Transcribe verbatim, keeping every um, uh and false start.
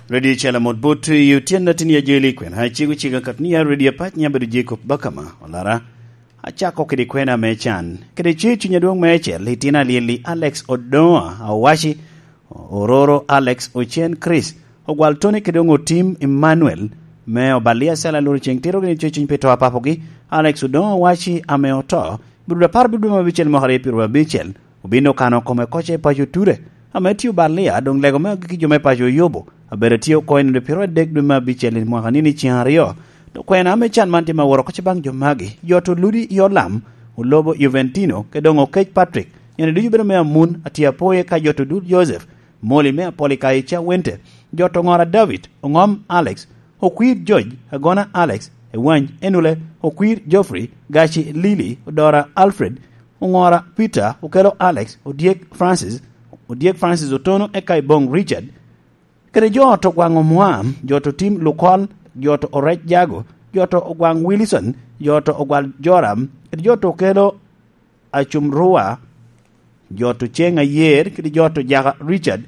Redio Calamot Bot i otyeno atin ya jeli kwena cego cega kat ni ya redio apac ni abedo Jacob Bakama Olara. Acako kede kwena me can kede ce cuny adwoŋ me ecel itino alyelli Alex Odoŋa Awaci, Ororo Alex Ocen Chris, Ogwal Tony kede Oŋo Tim Emmanuel, me Obalia Sala Loro Ceŋ Tiro gini ce cuny pi to apapogi. Alex Odoŋa Awaci ame oto, birudo apar birudo ma abicel mwaka aryo pyero abicel, obino kano kome koca i paco Ture, ame tye Obalia, doŋ lego me agikki jo me paco Oyobo, abedo tye oko i nino pyero adek dwe me abicel i mwaka nini ceŋ aryo. Dok kwena ame can man tye ma woro koca baŋ jo magi, jo to ludi i Olam, Olobo Juventino, ke doŋ Okec Patrick, nene ducu bedo me Amun, atye apoye ka jo to dul Joseph, Moli me Apolikayi Cawente, jo to Ŋora David, Oŋom Alex, Okwir George, Agona Alex, Ewany Enule, Okwir Geoffrey, Gaci Lily, Odora Alfred, Oŋora Peter, Okelo Alex, Odyek Francis, Odyek Francis Otono, eka Ibong Richard, kede jo to Gwaŋ Omwam, jo to Tim Lukol, jo to Orec Jago, jo to Ogwaŋ Wilson, jo to Ogwal Joram, kede jo to Okelo Acum Rua, jo to Ceŋ Ayer, kede jo to Jaka Richard,